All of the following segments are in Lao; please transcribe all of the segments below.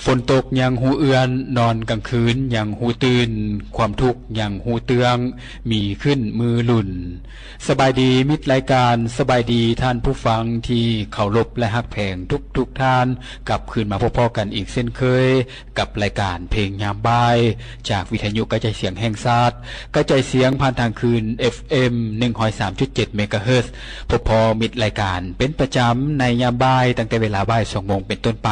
ຝົນຕົກຍັງຮູ້ເອື້ອນ, ນອນກາງຄືນຍັງຮູ້ຕື່ນ, ຄວາມທຸກຍັງຮູ້ເຕື້ອງ, ມີຂຶ້ນມື້ລຸນ. ສະບາຍດີມິດລາຍການ, ສະບາຍດີທ່ານຜູ້ຟັງທີ່ເຄົາລົບ ແລະ ຮັກແພງທຸກໆທ່ານ, ກັບຄືນມາພົບພໍ້ກັນອີກເຊັ່ນເຄີຍ ກັບລາຍການເພງຍາມບ່າຍ ຈາກວິທະຍຸກະຈາຍສຽງແຫ່ງຊາດ, ກະຈາຍສຽງຜ່ານທາງຄື້ນ ເອັຟເອັມ ໜຶ່ງຮ້ອຍສາມຈຸດເຈັດ ເມກາເຮີດ. ພົບພໍ້ມິດລາຍການເປັນປະຈຳໃນຍາມບ່າຍ ຕັ້ງແຕ່ເວລາບ່າຍສອງໂມງເປັນຕົ້ນໄປ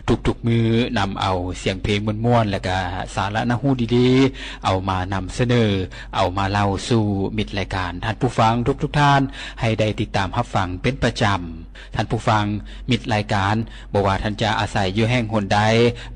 ທຸກໆມື້, ນຳເອົາສຽງເພງມ່ວນໆ ແລະ ກະສາລະໜ້າຮູ້ດີໆ ເອົາມານຳສະເໜີ, ເອົາມາເລົ່າສູ່ມິດລາຍການທ່ານຜູ້ຟັງທຸກໆທ່ານ ໃຫ້ໄດ້ຕິດຕາມຮັບຟັງເປັນປະຈຳ. ທ່ານຜູ້ຟັງ, ມິດລາຍການ, ບໍ່ວ່າທ່ານຈະອາໄສຢູ່ແຫ່ງຫົນໃດ,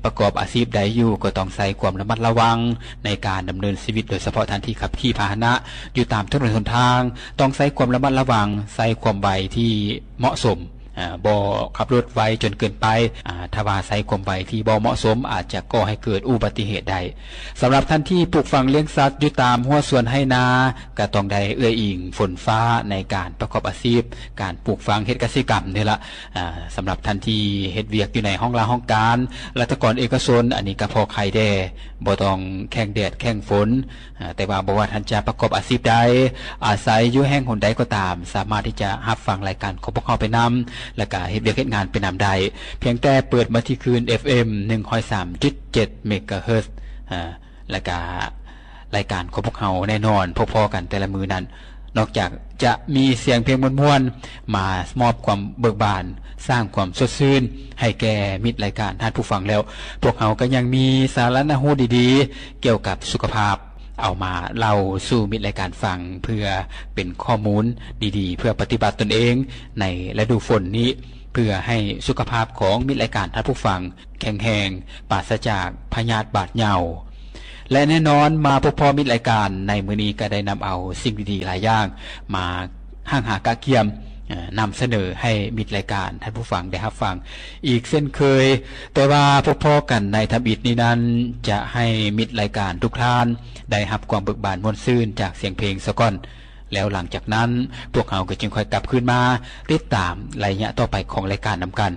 ປະກອບອາຊີບໃດຢູ່, ກໍຕ້ອງໃຊ້ຄວາມລະມັດລະວັງໃນການດຳເນີນຊີວິດ, ໂດຍສະເພາະທ່ານທີ່ຂັບຂີ່ພາຫະນະຢູ່ຕາມຖະໜົນຫົນທາງ, ຕ້ອງໃຊ້ຄວາມລະມັດລະວັງ, ໃຊ້ຄວາມໄວທີ່ເໝາະສົມ, ອາ, ບໍ່ຂັບລົດໄວຈົນເກີນໄປ, ອາ, ຖ້າວ່າໃຊ້ຄວາມໄວທີ່ບໍ່ເໝາະສົມ, ອາດຈະກໍ່ໃຫ້ເກີດອຸບັດຕິເຫດໄດ້. ສຳລັບທ່ານທີ່ປູກຝັງລ້ຽງສັດຢູ່ຕາມຮົ້ວສວນໄຮ່ນາ, ກໍຕ້ອງໄດ້ເອື້ອຍອີງຝົນຟ້າໃນການປະກອບອາຊີບການປູກຝັງເຮັດກະສິກຳນີ້ລະ. ອາ, ສຳລັບທ່ານທີ່ເຮັດວຽກຢູ່ໃນຫ້ອງລາຫ້ອງການ, ລັດຖະກອນເອກະຊົນ, ອັນນີ້ກໍພໍໄຄແດ່, ບໍ່ຕ້ອງແຂ່ງແດດແຂ່ງຝົນ. ອາ, ແຕ່ວ່າບໍ່ວ່າທ່ານຈະປະກອບອາຊີບໃດ, ອາໄສຢູ່ແຫ່ງຫົນໃດກໍຕາມ, ສາມາດທີ່ຈະຮັບຟັງລາຍການຂອງພວກເຮົາໄປນຳ, ແລ້ວກະເຮັດວຽກເຮັດງານໄປນຳໄດ້. ພຽງແຕ່ເປີດມາທີ່ຄື້ນ ເອັຟເອັມ ໜຶ່ງຮ້ອຍສາມຈຸດເຈັດ ເມກາເຮີດ. ອາ, ແລ້ວກະລາຍການຂອງພວກເຮົາແນ່ນອນ ພໍ້ໆກັນແຕ່ລະມື້ນັ້ນ, ນອກຈາກຈະມີສຽງເພງມ່ວນໆ ມາມອບຄວາມເບີກບານ, ສ້າງຄວາມສົດຊື່ນໃຫ້ແກ່ມິດລາຍການທ່ານຜູ້ຟັງແລ້ວ, ພວກເຮົາກໍຍັງມີສາລະໜ້າຮູ້ດີໆ ກ່ຽວກັບສຸຂະພາບ ເອົາມາເລົ່າສູ່ມິດລາຍການຟັງ ເພື່ອເປັນຂໍ້ມູນດີໆ ເພື່ອປະຕິບັດຕົນເອງໃນລະດູຝົນນີ້, ເພື່ອໃຫ້ສຸຂະພາບຂອງມິດລາຍການທ່ານຜູ້ຟັງ ແຂງແຮງ, ປາສະຈາກພະຍາດບາດເຍົາ. ແລະ ແນ່ນອນ, ມາພົບພໍ້ມິດລາຍການໃນມື້ນີ້ ກໍໄດ້ນຳເອົາສິ່ງດີໆຫຼາຍຢ່າງມາຫ້າງຫາກະກຽມ, ນຳສະເໜີໃຫ້ມິດລາຍການທ່ານຜູ້ຟັງໄດ້ຮັບຟັງອີກເຊັ່ນເຄີຍ. ແຕ່ວ່າພົບພໍ້ກັນໃນທຳອິດນີ້ນັ້ນ, ຈະໃຫ້ມິດລາຍການທຸກທ່ານໄດ້ຮັບຄວາມເບີກບານມ່ວນຊື່ນຈາກສຽງເພງສາກ່ອນ, ແລ້ວຫຼັງຈາກນັ້ນ ພວກເຮົາກໍຈຶ່ງຄ່ອຍກັບຄືນມາຕິດຕາມໄລຍະຕໍ່ໄປຂອງລາຍການນຳກັນ.